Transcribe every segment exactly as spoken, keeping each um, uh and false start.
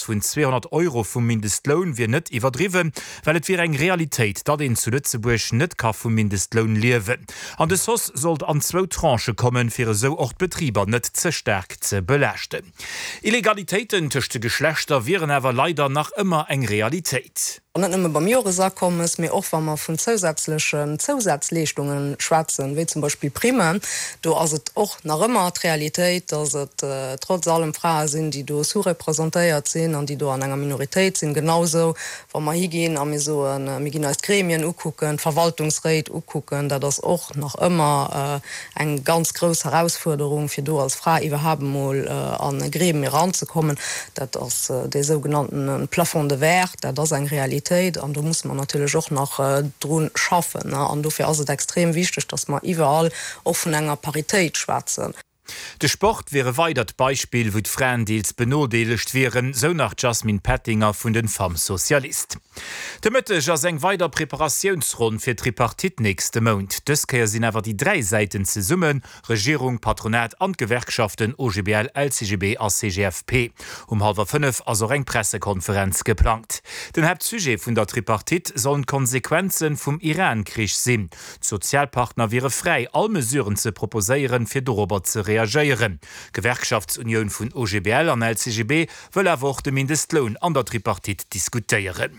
Hausse vun zweehonnert Euro vum Mindestloun wier net iwwerdriwwen, well et wier eng Realitéit, datt een zu Lëtzebuerg net ka vum Mindestloun liewen. An dës Hausse sollt an zwou Tranchë kommen, fir esou och d'Betriber net ze staark ze belaaschten. Illegalitéiten tëscht de Geschlechter wieren awer leider nach ëmmer eng Realitéit. An net nëmme beim Joresakommes, mee och wa mer vun zousätzlechen Zousazleeschtunge schwätzen, wéi zum Beispill Primmen, do ass et och nach ëmmer d'Realitéit, dass et trotz allem Frae sinn, déi do sous-representéiert sinn an déi do an enger Minoritéit sinn. Genausou wa mer higinn a mir soen, mir ginn eis d'Gremien ukucken, d'Verwaltungsréit ukucken, dat ass och nach ëmmer eng ganz grouss Herausfuerderung, fir do als Fra iwwerhaapt emol an e Gremium eranzekommen. Dat ass dee sougenannten Plafond de verre, dat ass eng Realitéit an do musse mer natierlech och nach dru schaffen. An dofir ass et extrem wichteg, dass mer iwwerall och vun enger Paritéit schwätzen. De Sport wier e weidert Beispill, wou d'Fraen deels benodeelegt wieren, sou nach d'Jasmine Pettinger vun den Femmes Socialistes. De Mëtteg ass eng weider Preparatiounsronn fir d'Tripartite nächste Mount. Dës Kéier sinn awer déi dräi Säiten zesummen, Regierung, Patronat an d'Gewerkschaften O G B L, L C G B a C G F P. Um hallwer fënnef ass och eng Pressekonferenz geplangt. Den Haaptsujet vun der Tripartite sollen d'Konsequenze vum Iran-Krich sinn. D'Sozialpartner wiere fräi, all Mesuren ze proposéieren, fir dorobber ze reagéieren. D'Gewerkschaftsunioun vun O G B L an L C G B wëll awer och de Mindestloun an der Tripartite diskutéieren.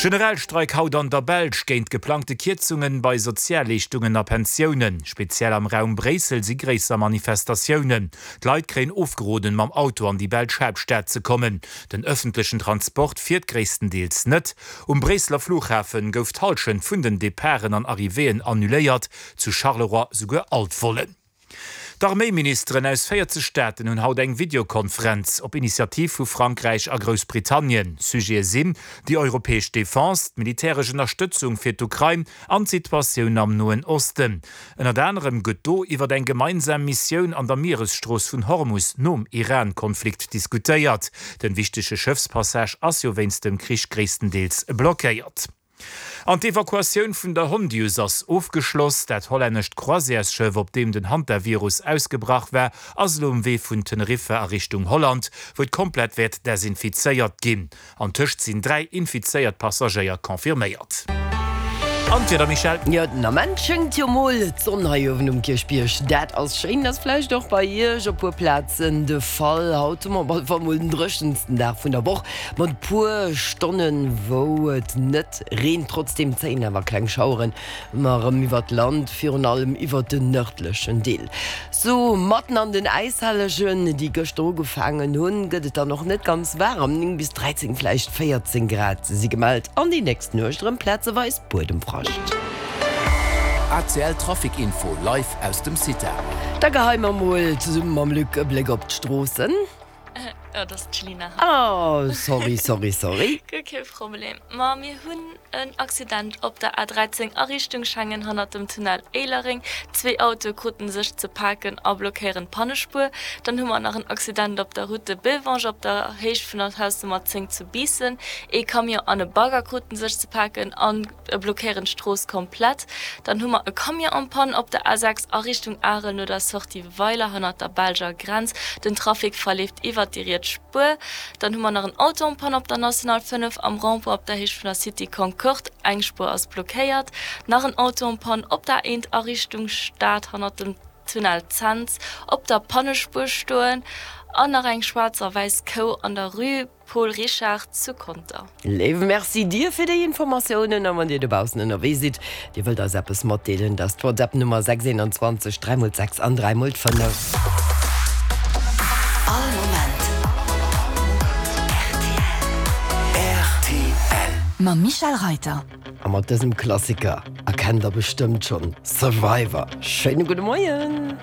Generalstreik haut an der Belsch géint geplangte Kierzungen bei Sozialleeschtungen a Pensiounen. Speziell am Raum Bréissel si gréisser Manifestatiounen. D'Leit kréien ofgeroden, mam Auto an déi belsch Haaptstad ze kommen. Den ëffentlechen Transport fiert gréisstendeels net. Um Bréisseler Flughafen gouf d'Hallschent vun den Departen an Arrivéeën annuléiert, zu Charleroi souguer all d'Vollen. D'Arméiministeren aus véierzeg Staaten hunn haut eng Videokonferenz op Initiativ vu Frankräich a Groussbritannien. Sujete sinn déi europäesch Defense, d'militäresch Ënnerstëtzung fir d'Ukrain an d'Situatioun am Noen Osten. Ënnert anerem gëtt do iwwer eng gemeinsam Missioun an der Mieresstrooss vun Hormus nom Iran-Konflikt diskutéiert. Den wichtege Schëffspassage ass jo wéinst dem Krich gréisstendeels blockéiert. An d'Evakuatioun vun der Hondius ass ofgeschloss. Dat hollännescht Croisièresschëff, op deem den Hantavirus ausgebrach war, ass elo um Wee vun Teneriffa a Richtung Holland, wou et komplett wäert desinfizéiert ginn. An tëscht sinn dräi infizéiert Passagéier confirméiert. An d'Wieder, Michèle? Jo, den Ament schéngt jo mol d'Sonn hei uewen um Kierchbierg. Dat ass schéin, ass vläicht och bei Iech op puer Plazen de Fall. Haut hu mer op alle Fall mol den dréchensten Dag vun der Woch, mat e puer Stonnen, wou et net reent. Trotzdeem zéien awer kleng Schaueren ëmmer erëm iwwert d'Land, virun allem iwwert den nërdlechen Deel. Sou matten an den Äishellegen, déi gëschter ugefaangen hunn, gëtt et dann och net ganz waarem, néng bis dräizéng, vläicht véierzéng Grad si gemellt an déi nächst Nuecht erëm plazeweis Buedemfrascht. A C L Trafic Info live aus dem CITA. Da geheie mer mol zesumme mam Luc e Bléck op d'Stroossen. Oh, dat ass d'Gelina. Oh, sorry, sorry, sorry. Guer kee Problem. Ma mir hunn en Accident op der A dräizéng a Richtung Schengen hannert dem Tunnel Éilereng. Zwee Autoe kruten sech ze paken a blockéieren d'Pannespuer. Dann hu mer nach en Accident op der Route de Bélvange op der Héicht vun der Hausnummer zéng zu Biissen. Ee Camion an e Bagger kruten sech ze paken an blockéieren d'Strooss komplett. Dann hu mer e Camion en panne op der A sechs a Richtung Arel no der Sortie Weiler hannert der belscher Grenz. Den Trafic verleeft iwwert déi riets Spuer. Dann hu mer nach en Auto en panne op der National fënnef am Rond-point op der Héicht vun der Cité Concorde. Eng Spuer ass blockéiert. Nach en Auto en panne op der A eent a Richtung Stad hannert dem Tunnel Cents op der Pannespuer stoen. An nach eng schwaarz a wäiss Kou an der Rue Paul Richard zu Conter. Léiwe Merci dir fir déi Informatiounen a wann dir dobaussen ënnerwee sidd, dir wëllt eis eppes matdeelen, dat ass d'WhatsApp Nummer sechs eenanzwanzeg dräi mol d'sechs an dräi mol d'fënnef. All Moment R T L. Mam Michèle Reiter. A mat dësem Klassiker erkennt der bestëmmt schonn Survivor. Schéine gudde Moien.